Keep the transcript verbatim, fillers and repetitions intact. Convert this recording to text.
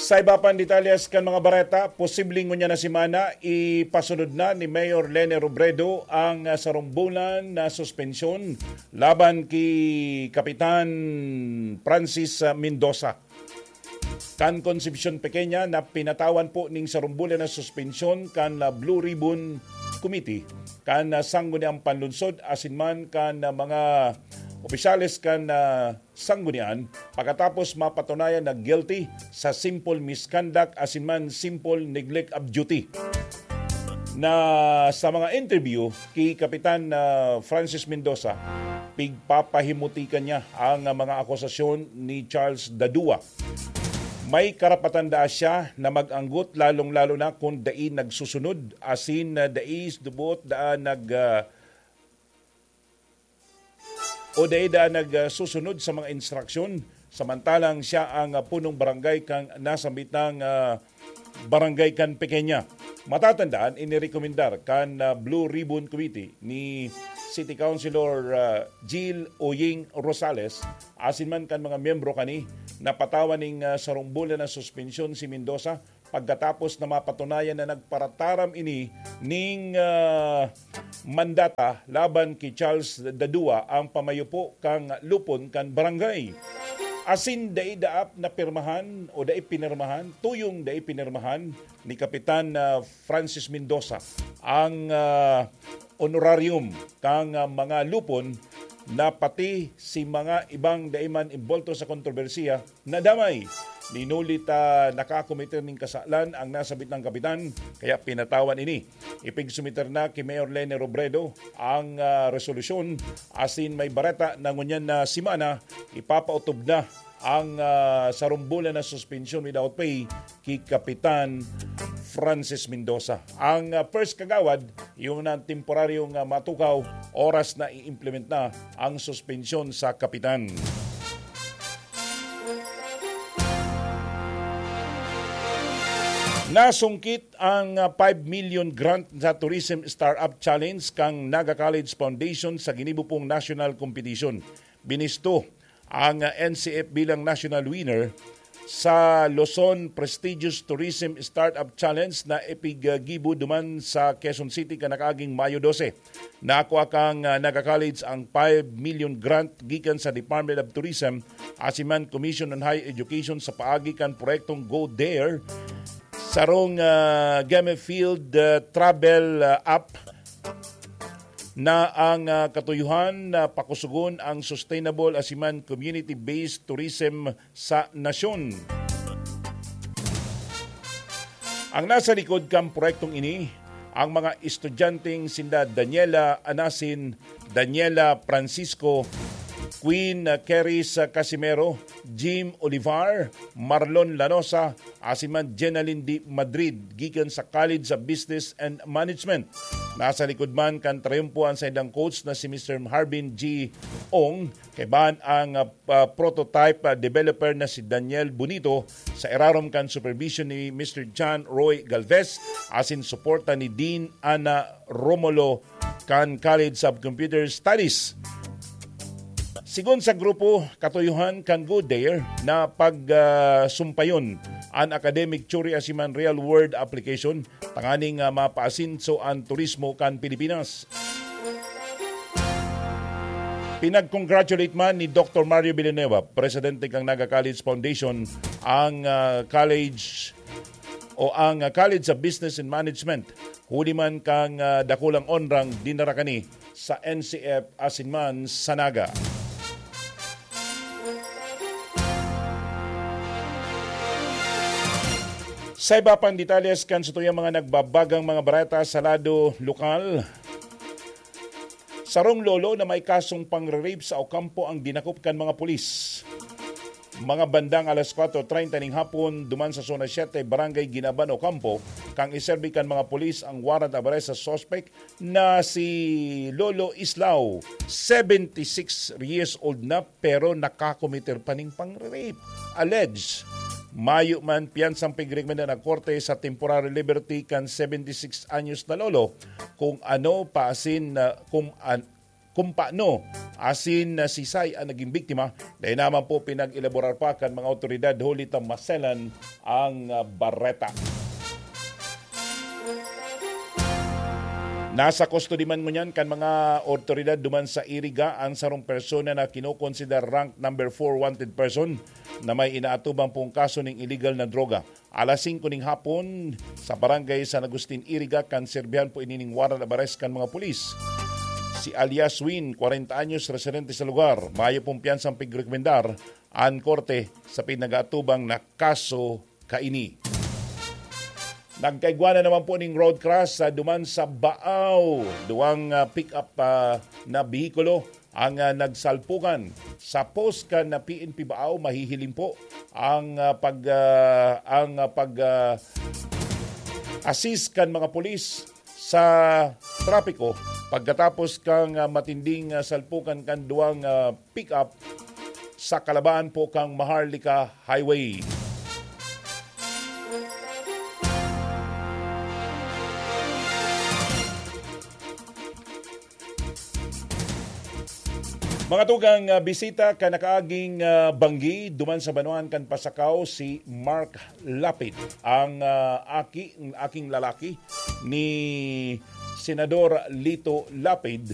Sa iba pang detalyes kan mga bareta, posibleng ngunyan na semana, ipasunod na ni Mayor Leni Robredo ang, ah, sarong bulan na suspensyon laban ki Kapitan Francis, ah, Mendoza. Kan Concepcion Pequeña na pinatawan po ning sarong bulan na suspensyon kan, ah, Blue Ribbon Committee, kan, ah, Sangguniang Panlunsod, asin man kan, ah, mga opisyales kan, ah, Sanggunian, pagkatapos mapatunayan na guilty sa simple misconduct asin man simple neglect of duty. Na sa mga interview ki Kapitan, ah, Francis Mendoza, pigpapahimutikan niya ang, ah, mga akusasyon ni Charles Dadua. May karapatan daa siya na mag-anggot, lalong-lalo na kung dai nagsusunod, asin, ah, dai dubuot daa nag, ah, o dai daa nagsusunod sa mga instruksyon, samantalang siya ang, ah, punong barangay kan nasambitang, ah, barangay kan Pequeña. Matatandaan, inirekomendar kan, ah, Blue Ribbon Committee ni City Councilor, ah, Jill Oying Rosales, asin man kan mga miyembro kani, na patawan ning, ah, sarong bulan na suspensyon si Mendoza pagkatapos na mapatunayan na nagparataram ini ning, ah, mandata laban ki Charles Dadua, ang pamayo po kan lupon kan barangay. Asin dai daap na pirmahan o dai pinirmahan, tuyong dai pinirmahan ni Kapitan, ah, Francis Mendoza ang, ah, honorarium kan, ah, mga lupon na pati si mga ibang dai man imbolto sa kontrobersiya nadamay. Hinuli ta nakakometer nin kasalan ang nasabit nang kapitan, kaya pinatawan ini. Ipigsumiter na ki Mayor Leni Robredo ang, ah, resolusyon, asin may bareta na ngunyan na semana, ipapaotob na ang, ah, sarong bulan na suspension without pay ki Kapitan Francis Mendoza. Ang, ah, first kagawad, yung na temporaryong, ah, matukaw, oras na i-implement na ang suspensyon sa kapitan. Nasungkit ang, ah, five million grant sa Tourism Startup Challenge kan Naga College Foundation sa ginibo pong national competition. Binisto ang, ah, N C F bilang national winner sa Luzon Prestigious Tourism Startup Challenge na ipiggibo duman sa Quezon City kan nakaaging Mayo dose. Nakua kan, ah, Naga College ang five million grant gikan sa Department of Tourism asin man Commission on Higher Education sa paagi kan proyektong Go There, sarong, ah, gamified, ah, travel, ah, app na ang, ah, katuyohan na pakusugon ang sustainable asin man community-based tourism sa nasyon. Ang nasa likod kan proyektong ini, ang mga estudyanteng sinda Daniela Anasin, Daniela Francisco, Queen Keris Casimero, Jim Olivar, Marlon Lanosa, asin man Jenalyn D. Madrid, gikan sa College of Business and Management. Nasa likod man kan trayumpo an saindang coach na si Mister Harbin G. Ong, kaibahan ang, ah, pa-, prototype, ah, developer na si Daniel Bonito sa irarom kan supervision ni Mister John Roy Galvez, asin suporta ni Dean Ana Romulo kan College of Computer Studies. Sigon sa grupo, katuyohan kan Go There na pag, ah, sumpayon an academic theory asin man real-world application tanganing, ah, mapaasenso an turismo kan Pilipinas. Pinag-congratulate man ni Doctor Mario Villanueva, presidente kan Naga College Foundation, ang, ah, college o ang, ah, College of Business and Management, huli man kan, ah, dakulang onrang dinara kani sa N C F asin man sa Naga. Sa iba pang detalles kan satuyang mga nagbabagang mga bareta sa lado lokal, sarong lolo na may kasong pangre-rape sa Ocampo ang dinakop kan mga pulis. Mga bandang alas kwatro treinta ning hapon, duman sa Zona siete, Barangay Ginaban, Ocampo, kan iserbi kan mga pulis ang warrant of arrest sa suspect na si Lolo Islao, seventy-six years old na, pero nakakomiter pa ning pangre-rape. Alleged, mayo man piyansang pigrekomenda ng korte sa temporary liberty kan seventy-six anyos na lolo, kung ano paasin na, kung an-, kung paano asin na sisay an nagin biktima. Dai naman po pinag-elaborar pa kan mga awtoridad huli ta maselan ang, ah, bareta. Nasa kustodiya man ngunyan kan mga awtoridad duman sa Iriga ang sarong persona na kinokonsiderar rank number four wanted person na may inaatubang pong kaso ning illegal na droga. Alas singko ning hapon, sa barangay San Agustin, Iriga, kan serbihan po ini ning warrant of arrest kan mga pulis. Si alias Win, kwarenta anyos, residente sa lugar, mayo pong piyansang pigrekomendar an korte sa pinag-aatubang na kaso kaini. Nagkaigwa na naman po ning road crash sa duman sa Baaw. Duwang, ah, pick-up, ah, na behikulo ang, ah, nagsalpukan sa post kan, ah, P N P Baaw. Mahihiling po ang, ah, pag, ah, ang, ah, pag, ah, assist kan mga pulis sa trapiko pagkatapos kang, ah, matinding, ah, salpukan kan duwang, ah, pick-up sa kalabaan po kang Maharlika Highway. Mga tugang, ah, bisita kan nakaaging, ah, banggi duman sa banwaan kan Pasacao si Mark Lapid, ang, ah, aki, aking lalaki ni Senador Lito Lapid,